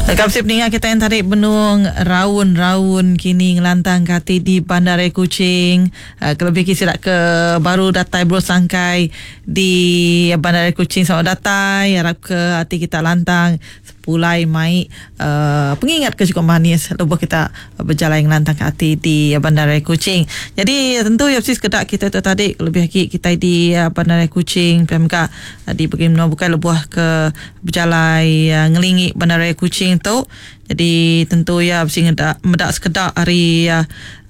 Lengkap sip ninga kita yang tadi benung raun-raun kini ngelantang ke ati di Bandaraya Kuching. Uh, kelebih ke sida ke baru datai baru sangkai di Bandaraya Kuching selamat datai. Harap ke ati kita lantang pulai mai uh, pengingat ke cukup manis lebuh kita bejalai ngelantang ke ati di Bandaraya Kuching. Jadi tentu ya mesti sekeda kita tu tadi lebih lagi kita di Bandaraya Kuching PMK di bagi menua bukai lebuh ke bejalai ngelingi Bandaraya Kuching tu. Jadi tentu iya bisi ngeda meda sekeda ari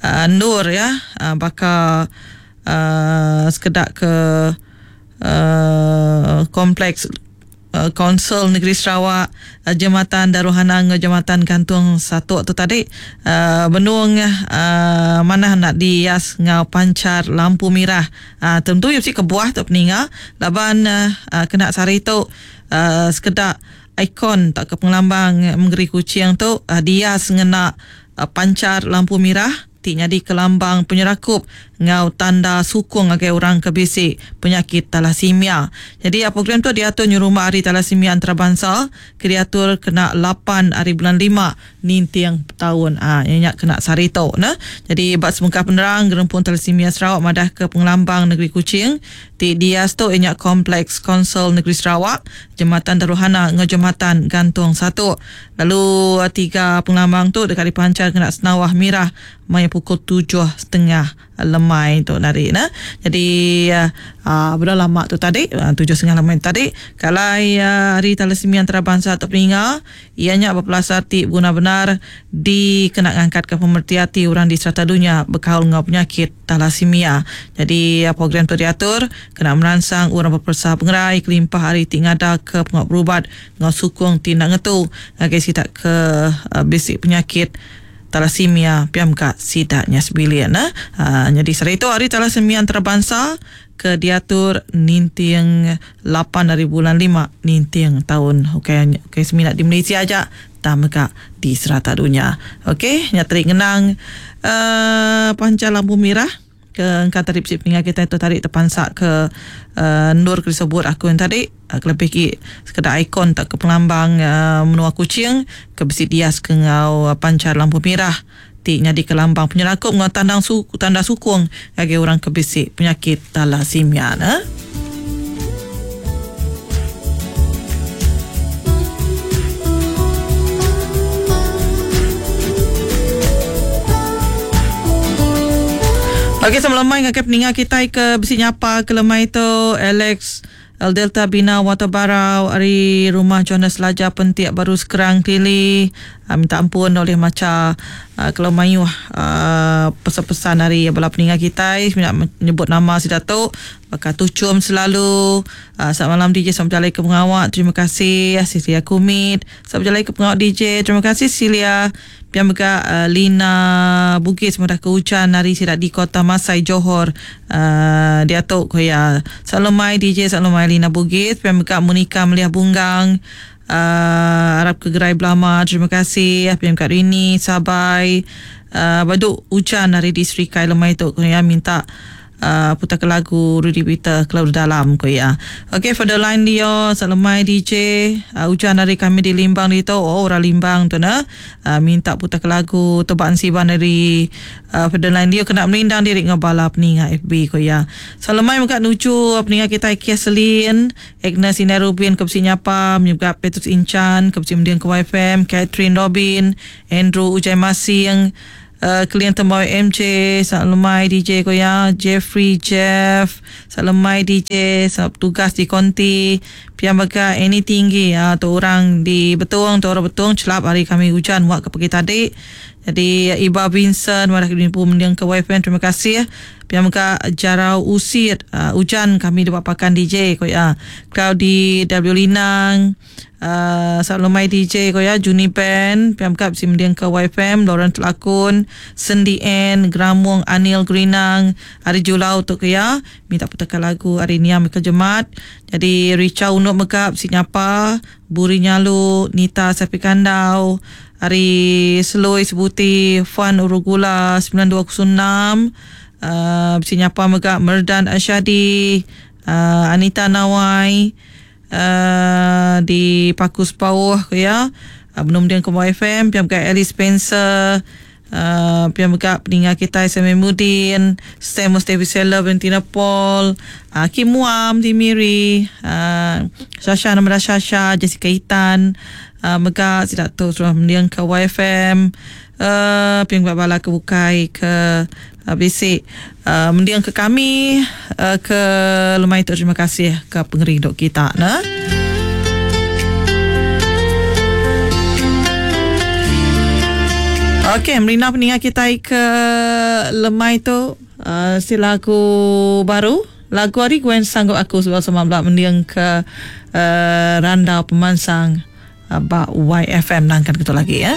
endur iya baka uhh sekeda ke uhh kompleks Kaunsil Negeri Sarawak, Jematan Darul Hana enggau Jematan Gantung Satok tu tadi uhh benung uhh manah enda dias enggau panchar lampu mirah. Uhh tentu iya bisi kebuah tu peninga laban uhh kena sehari tu uhh sekeda ikon tauka pengelambang mengeri Kuching tu dias ngena panchar lampu mirah ti nyadika lambang penyerakup enggau tanda sukung ngagai orang ke bisi penyakit talasemia. Nyadi program tu diatur nyerumba Hari Talasemia Antarabansa ke diatur kena lapan ari bulan lima ninting taun. Aa iya nya kena sehari tu ne. Nyadi ba sebengkah penerang Gerempung Talasemia Sarawak madahka pengelambang negeri Kuching ti dias tu iya nya Kompleks Konsol Negeri Sarawak, Jematan Darul Hana enggau Jematan Gantung Satok. Lalu tiga pengelambang tu deka dipanchar ngena senawah mirah maya pukul 7:30 lemai tu tadi nah. Jadi uhh beda lama tu tadi 7:30 lemai tu tadi kalai hari thalassemia antarabangsa tu peninga iya nya bepelasar ti beguna bendar dikena ngangkatka pemereti ati orang di serata dunya bekaul enggau penyakit Thalassemia. Nyadi program tu diatur kena meransang orang beperesa pengerai kelimpah ari ti ngadaka pengawa berubat enggau sukung ti enda ngetu ngagai sida ke bisi penyakit thalassemia pia mega sida nya sebilik ne. Nyadi sehari tu hari thalassemia antarabangsa ke diatur ninting lapan ari bulan lima ninting taun ukai ukai semina di Malaysia aja tang mega di serata dunya. Okey nya tadi ngenang uhh panca lampu mirah ke engka tadi bisi peninga kitai tu tadi tepansa ke uhh endur ke disebut aku yen tadi kelebih agi sekeda ikon tauka pengelambang uhh menua Kuching ke bisi dias ke enggau panca lampu mirah ti nyadika lambang penyerakup enggau tandang tanda sukung ngagai orang ke bisi penyakit thalassemia ne. Okey sama lemai ngagai peninga kitai ke bisi nyapa ke lemai tu Alex El Delta Bina Water Barau ari Rumah Johannes Laja Pentik Baru Skrang Tili minta ampun ulih macha kelalu mayuh pesan-pesan ari bala peninga kitai semina nyebut nama sida tu baka tuchum selalu selamat malam DJ selamat bejalai ke pengawa terima kasih Cecilia Kumit selamat bejalai ke pengawa DJ terima kasih Cecilia. Pia mega Lina Bugis madah ke ujan ari sida di Kota Masai Johor diatu ku iya. Selalu mai DJ selalu mai Lina Bugis pia mega Monica Meliah Bunggang arap ke gerai belama terima kasih pia mega Rini Sabai badu ujan ari di Serikai lemai tu ku iya minta Putar ke lagu Rudy Peter kelalu dalam ku iya. Ok for the line Leo selemai DJ ujan ari kami di Limbang ditu oh orang Limbang tu neh minta putar ke lagu Tebak Ensiban ari for the line Leo kena merindang diri enggau bala peninga FB ku iya. Selemai mega nuju peninga kitai Keslin Agnes Indai Rubin ke bisi nyapa mega Petrus Inchan ke bisi mending ke YFM Catherine Robin Andrew Ujai Masing Keling Tembawai MJ, Selamat lemai DJ ko iya, Jeffrey Jeff, Selamat lemai DJ, selamat betugas di konti, pia mega Annie Tinggi aa tu orang di Betong, tu orang Betong chelap hari kami ujan muak ke pagi tadi. Jadi Iba Vincent madah ke diri empu mending ke YFM terima kasih. Pia mega Jarau Usit aa ujan kami deba pakan DJ ko iya. Cloudy W Linang. Selalu lemai DJ ko ya Juni Ben pia mega bisi mending ke YFM Lawrence Lakun Sendi Ann Gramong Anil Gerinang ari Julau tu ke ya minta putarka lagu ari Nia Michael Jemat jadi Richa Unuk mega bisi nyapa Buri Nyalu Nita Sapi Kandau ari Selui Sebuti Fuan Urugula 9206 uhh bisi nyapa mega Merdan Ashadi uhh Anita Nawai. Di Paku Sepauh ku iya. Benung mending ke YFM, pia mega Alice Spencer, pia mega peninga kitai Samuel Mudin, Sam Mustafi Seller, Valentina Paul, Kim Muam di Miri, Shasha Namada Shasha, Jessica Itan, mega sida tu suah mending ke YFM, pia mega bala ke bukai ke bisi mending ke kami ke lemai tu terima kasih ke pengerindu kita ne. Okey, merina peninga kitai ke lemai tu uh, si lagu baru lagu ari Gwen Sanggup Aku sebab sama bela mending ke uh, randau pemansang uh, ba YFM nangkan ketu lagi ya.